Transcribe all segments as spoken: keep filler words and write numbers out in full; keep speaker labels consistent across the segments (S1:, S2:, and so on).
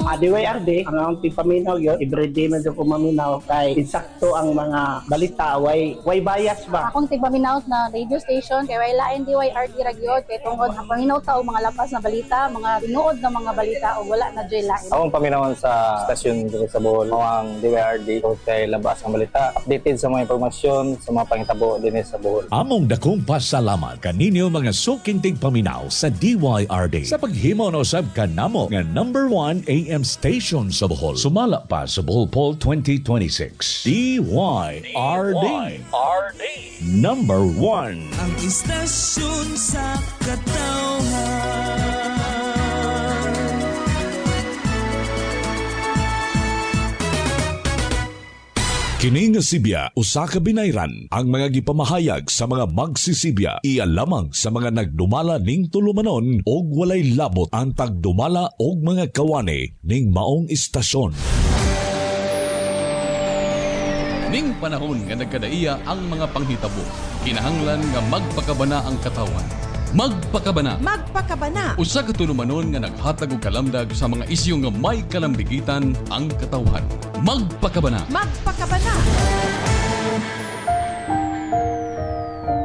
S1: Uh, D Y R D, ang akong tigpaminaw yun, everyday man ko maminaw kay insakto ang mga balita, way, way bias ba?
S2: Akong tigpaminaw na radio station kay way lain, D Y R D ra gyud, kay tungod ang paminaw ta og mga lapas na balita, mga tinuod na mga balita ug wala na joy lain.
S3: Akong paminawon sa stasyon diri sa Bohol mao ang D Y R D kay labas ang balita, updated sa mga impormasyon sa mga pangitabo dinhi sa Bohol.
S4: Among dakong pasalamat kaninyo mga suking tigpaminaw sa D Y R D sa paghimo no sab kanamo nga number one A M station sa Bohol. Sumala pa sa Bohol Poll twenty twenty-six. D Y R D. Number one.
S5: Ang istasyon sa katawhan.
S4: Kini nga sibya usa ka binayran. Ang mga gipamahayag sa mga magsisibya iya lamang sa mga nagdumala ning tulumanon og walay labot ang tagdumala og mga kawani ning maong istasyon.
S6: Ning panahon nga nagkadaiya ang mga panghitabo, kinahanglan nga magpakabana ang katawan. Magpakabana.
S7: Magpakabana.
S6: Usa ka tulumanon nga naghatag og kalamdag sa mga isyu nga may kalambigitan ang katawhan. Magpakabana.
S7: Magpakabana.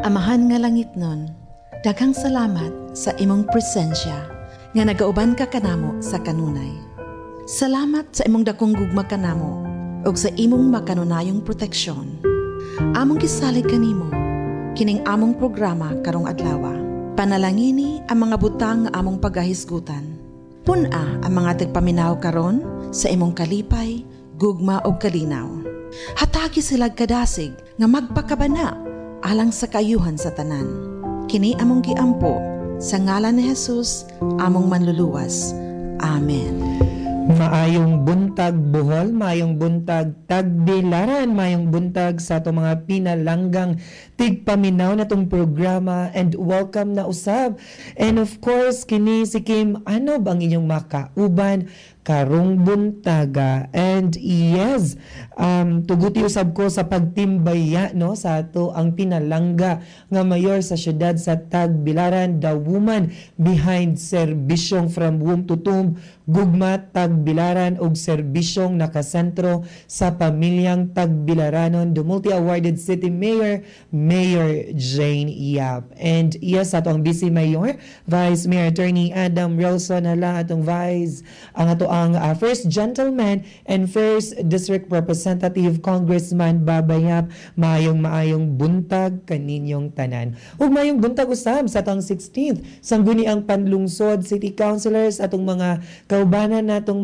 S8: Amahan nga langit nun, daghang salamat sa imong presensya nga nagauban ka kanamo sa kanunay. Salamat sa imong dakong gugma kanamo ug sa imong makanunayong proteksyon. Among gisalig kanimo kining among programa karong adlaw. Panalangini ang mga butang nga among pagahisgutan. Pun-a ang mga tagpaminaw karon sa imong kalipay, gugma ug kalinaw. Hatagi sila kadasig nga magpakabana alang sa kaayuhan sa tanan. Kini among giampo sa ngalan ni Jesus, among manluluwas. Amen.
S9: Maayong buntag, Bohol, maayong buntag, Tagbilaran, maayong buntag sa atong mga pinalanggang tigpaminaw na tong programa and welcome na usab. And of course, kini si Kim Anob ang inyong makauban karong buntaga. And yes, um, tuguti usab ko sa pagtimbaya, no, sa ato ang pinalangga nga mayor sa syudad sa Tagbilaran, the woman behind serbisyong From Womb to Tomb, Gugma Tagbilaran ug serbisyong nakasentro sa pamilyang Tagbilaranon, the multi-awarded city mayor, Mayor Jane Yap. And yes, ato ang Vice Mayor, Vice Mayor Attorney Adam Wilson hala, atong Vice, ang ato ang uh, First Gentleman and First District Representative Congressman Baba Yap, maayong maayong buntag kaninyong tanan. Ug maayong buntag usab sa atong sixteenth Sangguniang Panlungsod City Councilors, atong mga kaubanan natong